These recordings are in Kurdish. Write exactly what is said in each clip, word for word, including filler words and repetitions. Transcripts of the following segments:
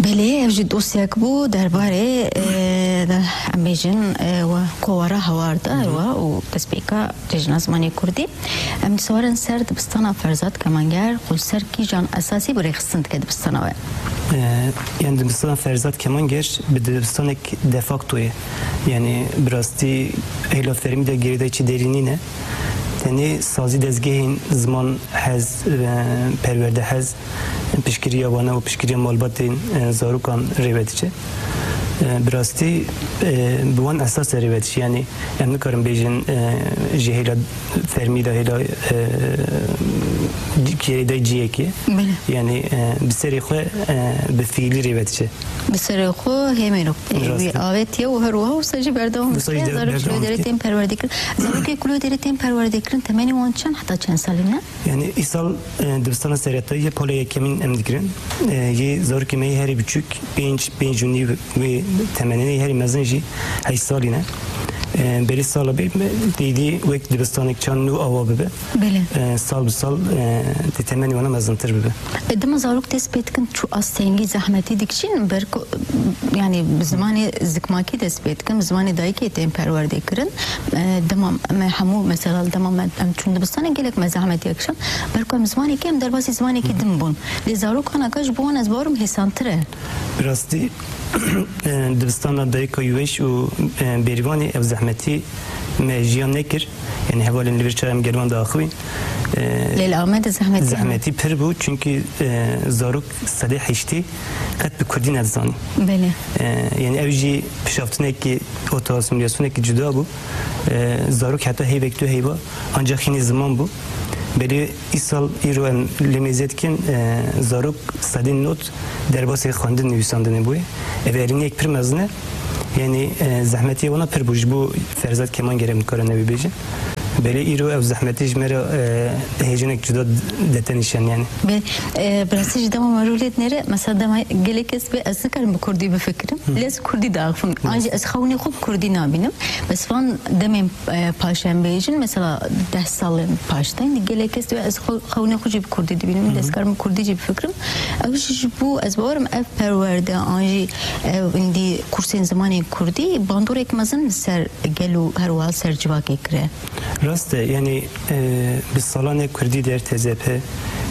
Belê, ev jî dosyek bû derbarê, e, de, em bêjin, e, we kovara hewar de, hı hı, we û destpêka Cejna Zimanê Kurdî. Em dîsa werin ser dibistana Ferzad Kemanger, xwe li ser kîjan esasî bi rêxistin dike dibistana we? E, yani dibistana Ferzad Kemanger bi dibistanek de facto ye. Yani bi rastî hêla fermî de girêdayî çi derî nîne. Tenê sazî dezgehên ziman hez, e, perwerde hez, piştgiriya wana û piştgiriya malbatên, e, zarokan rê ve diçe. E, bi rastî, e, bi wan esas e rê ve diçe. Yani em nikarin bêjin, e, ji hêla fermî de hêla, e, girêdayî cihekê. Belê. Yani, e, bi serê xwe, e, bi fiilî rê ve diçe. Bi serê xwe hêmêro, e, Rast wî e. avêtiye û her wiha wisa jî berdewam Wisa dike. jî de Zarok ji berdewam wê derê dike. tên perwerdekirin. Zarokê ku li wê derê tên perwerdekirin, temenê wan çend heta çend salî ne? Yani îsal, e, dibistana seretayî ye, pola yekemîn em digirin. E, yê zarokê me yê herî biçûk, pênc, pênc û nîv wê temenê ne, yê herî mezin jî heşt salî ne. E, berî sala bê me dîdî wek dibistanek çand nû awa bibe. Belê. E, sal bi sal, e, di temenê wana mezintir bibe. E, dema zarok dest pê dikin çû astengî zehmetî dikişînin, ber ku, yani bi zimanê zikmakî dest pê dikin, bi zimanê dayikê tên perwerde kirin. E, dema me hemû, mesela dema me, em çûn dibistanê gelek me zehmetî kişand. Ber ku em zimanekî, em derbasî zimanekî din bûn. Lê zarok anaka ji bo wan ez bawerim hêsantir e. Bi rastî, e, dibistana dayika Yuweş û, e, Bêrîvanê ev zehmetî me jiyan nekir. Yani hevalên li vir çawa em gel wan diaxivîn. E, Lê li Amedê zehmetî hene. Zehmetî pir bû, çünkü, e, zarok sedê heştê qet bi kurdî nedizanî. Belê. E, yani ev jî pişaftinekî, ota asîmîlasyonekî cuda bû. E, zarok heta heyvek tu heyva ancak hînî ziman bû. Belê îsal îro em lê mêze dikin, e, zarok sedê not derbasê xwendin nivîsandinê bûye. Ev erîniyek pir mezin e. Yani, e, zehmetiyê wana pir bû ji bo Ferzad Kemanger em nikarin ew ê bêjin. Belê îro ew zehmetî ji me re, e, hêjinek cuda dete nîşan yani. Be, e, bi rastî jî dema me rûlê dinêre, mesela dema gelek kes bê ez nikarim bi kurdî bifikirim. Hı. Lê ez kurdî diaxivim. Hı. An jî ez xewnê xwe bi kurdî nabînim. Bes van demên, e, paş em bêjin, mesela deh salên paş de, indi gelek kes dibe ez xwe, xewnê xwe jî bi kurdî dibînim, Hı hı. ez karim bi kurdî jî bifikirim. Ew jî ji bo, ez bawerim ev perwerde, an jî ev indi kursên zimanên kurdî bandorek mezin li ser gel û her wiha ser civakê kire. Rast e, yani, e, bi salan e kurdî der T Z P,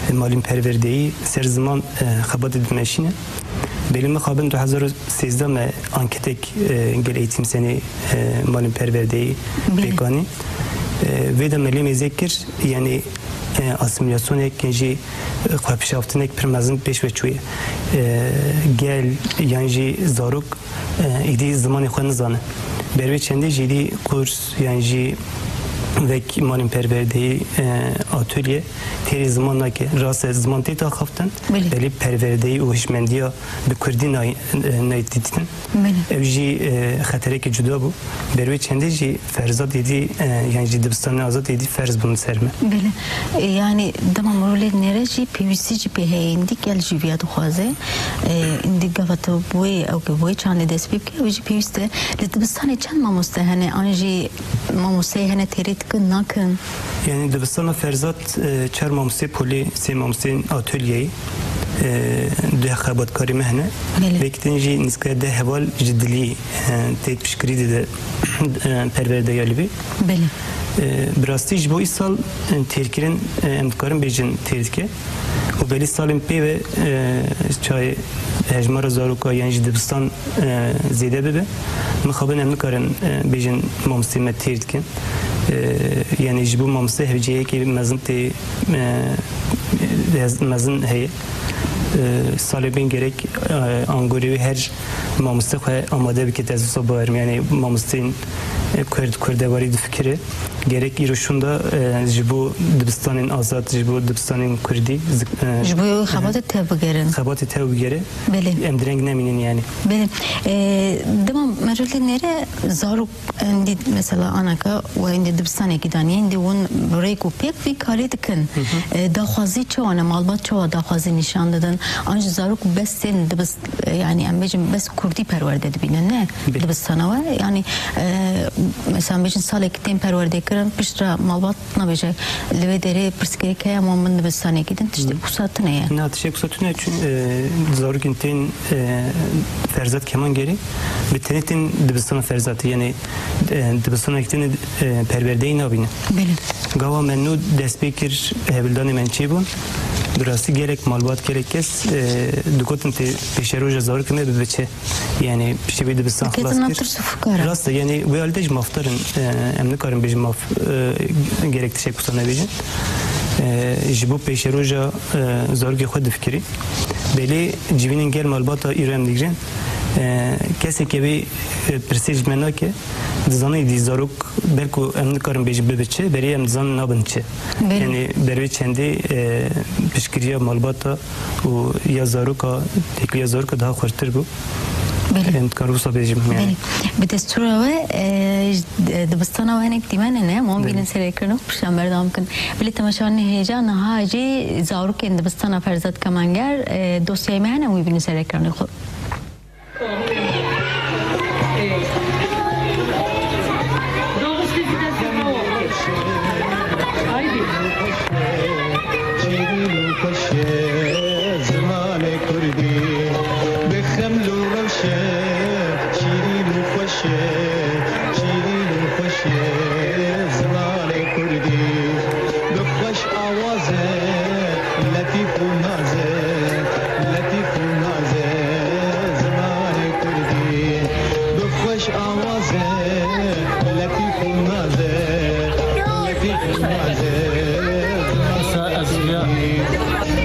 e, malîn perwerdeyî ser ziman, e, xebatê dimeşîne. Belê mixabin du hezar û sêzdeh me anketek, e, gel Eğitim Senî, e, malên perwerdeyî Belê. pêk anî. E, vê de me lê mêze kir, yani, e, asîmîlasyonek, yan jî, e, xwepişaftinek pir mezin pêş ve çûye. E, gel, yan jî zarok, e, êdî zimanê xwe nizane. Ber vê çendê jî êdî kurs, yan jî wek malên perwerdeyî, e, atölye têrê ziman nake. Rast e, ziman tê daxaftin, Belê. belê perwerdeyî û hişmendiya bi kurdî nay-, e, nayê dîtin. Belê. Ew jî, e, xeterekî cuda bû. Ber wê çendê jî ferzat êdî, e, yan jî dibistanên azad êdî ferz bûn li ser me. Belê. E, yani dema mirov lê dinêre jî pêwîstî jî pê heye, êndî gel jî viya dixwaze. E, êndî gava tu bi wê, ew ke bi wê çandê dest pê bike, ew jî pêwîst e. Li dibistanê çend mamoste hene? An jî mamosteyê hene têrê dikin, nakin? Yani dibistana Ferzat, e, çar mamostê polê, sê mamosteyên atölyeyê, e, du xebatkarê me hene. Belê. Vêk din jî nîska deh heval ji dilî, e, tê piştgirî dide, e, perwerdeya li vê. Belê. E, bi rastî ji bo îsal, e, têrkirin, e, em dikarin bêjin têr dike. Û belê salên pê ve, e, çayê hejmara zaroka yan jî dibistan, e, zêde bibe. Mixabin em nikarin, e, bêjin mamosteyê me têr dikin. E, yani ji bo mamoste hevceyekê mezin tê, e, ez-, mezin heye. E, salê bên gerek, e, angorê wê her mamoste xwe amade bike, ez wisa bawerim. Yani mamosteyên, e, kurd, kurdewarî difikire. Gerek îro şûnda, e, ji bo dibistanên azad, ji bo dibistanên kurdî, zik-, e, Ji bo xebatê tev bigere. Xebatê tev bigere. Belê. Em direng nemînin yani. Belê. E, dema merûlê nêre zarok, êndî mesela anaka we êndî dibistanekî danî, êndî hûn rêk û pêk vî karî dikin. Hı hı. E, daxwazî çawa ne? Malbat çawa daxwazî nîşan didin? An jî zarok bes tên dibist-, e, yani em bêjin bes kurdî perwerde dibînin, ne? Belê. Dibistana we. Yani, e, Mesela bêjin salekî tên perwerdê kirin, piştre malbat nabêje, li wê derê pirsgirêk heye, ama min dibistanekî din tiştê wisa tune ye. Na, tiştek wisa tune, çün, e, zarokên tên, e, Ferzat Kemangerê, bi tenê tên dibistana Ferzatê, yani, e, dibistanekî tên, e, perwerdeyî nabîne. Belê. Gava me nû dest pê kir, hevldanê me çêbûn. Bi rastî gelek malbat, gelek kes, e, digotin tê pêşeroja zarokê me bibiçe. Yani piştî vê dibistan xelas kir. Diketin nav tirs û fikara. Rast e, yani wê alî de jî mafdar in, e, em nikarin bêjin maf, e, gerek tiştek wisa nebêjin. E, ji bo pêşeroja, e, zarokê xwe difikirî. Belê civînên gel malbata îro em digrin. E, kesê ke vê, e, pirsê ji me nake, dizanî dî zarok belku em nikarin bêjin bibe çi, berê em dizanin nabin çi. Belê. Yani ber vê çendê, e, piştgiriya malbata û ya zaroka, têkiliya zaroka daha xurtir bû. Belê. Em dikarin wisa bêjim, yani. Belê. Bi destûra we, e, ji, e, dibistana we hinek dîmen hene, em wan Belê. bînin serê ekranê xwe pişan berdewam kin. Belê, temaşevanên hêja, niha jî zarokên dibistana Ferzat Kemanger, e, dosyayê me hene, em wî bînin serê ekranê xwe. Şîrîn û xweş e zimanê kurdî, bi xeml û rewş e, şîrîn û xweş e, şîrîn û xweş e zimanê kurdî. Bi xweş awaz e, letîf û naz e, letîf û naz e zimanê kurdî. Bi xweş awaz e, letîf û naz e, letîf û naz e zimanê kurdî.